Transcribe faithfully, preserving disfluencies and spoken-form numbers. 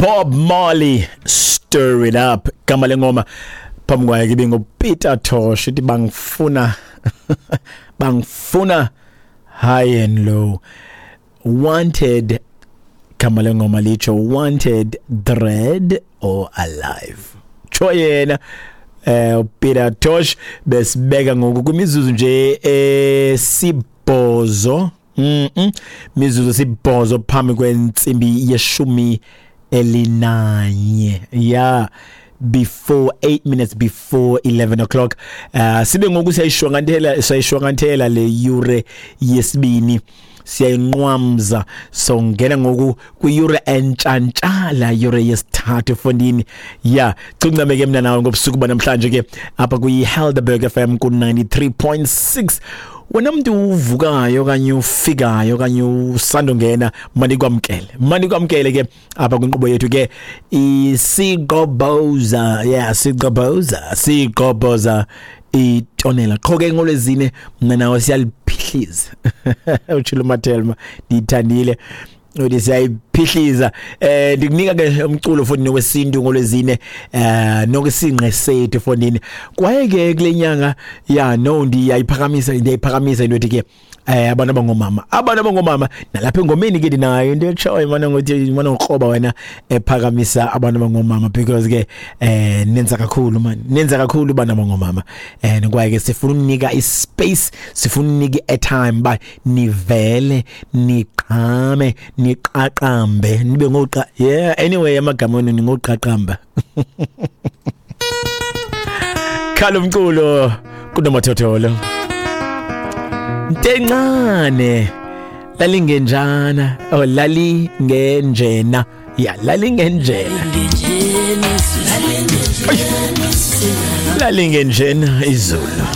Bob Marley, Stir It Up. Gama lengoma phambi kwayo ke bingu Peter Tosh, ithi bangifuna bangifuna high and low. Wanted, gama lengoma litsho wanted dead or alive. Tsho yena eh Peter Tosh. Besibeka ngoku kwimizuzu nje esibhozo, mm -mm. mizuzu sibhozo phambi kwentsimbi yeshumi elinanye, yeah, before eight minutes before eleven o'clock. uh, sibe ngoku siyayishwankathela siyayishwankathela le yure yesibini, siyayinqwamza, so ngena ngoku kwiyure entshantshala, yure yesithathu fondini. Yeah, cuncame ke mna nawe ngobusuku banamhlanje ke apha kwi-Helderberg F M ku ninety-three point six. Wena mntu uvukayo okanye ufikayo okanye usandongena, manikwamkele manikwamkele ke apha kwinkqubo yethu ke isigqobhoza. Yeah, sigqobhoza sigqobhoza itonela qho ke ngolwezine, mna nawe siyaliphihliza. Utshilo Mathelma, ndiyithandile, uthi siyayiphihliza. eh ndikunika ke umculo fondini wesintu ngolwezine, eh nokusinqe sethu fondini. Kwaye ke kule nyanga, ya no, ndiyayiphakamisa ndiyayiphakamisa into ethi ke eh abantu abangomama abantu abangomama nalapha engomeni ke ndinayo into etshoyo mana ngothi mana ngikroba wena ephakamisa abantu abangomama, because ke eh nenza kakhulu man, nenza kakhulu abantu abangomama. eh kwaye ke sifuna ukunika ispace, sifuna ukunika airtime ba nivele niqhame niqaqambe nibe ngoqa. Yeah, anyway, amagama wenu ningoqaqamba. Khala umculo kunomathotholo. Ntencane lalingenjana, oh lalingenjena, ya lalingenjena, lalingenjena izulu.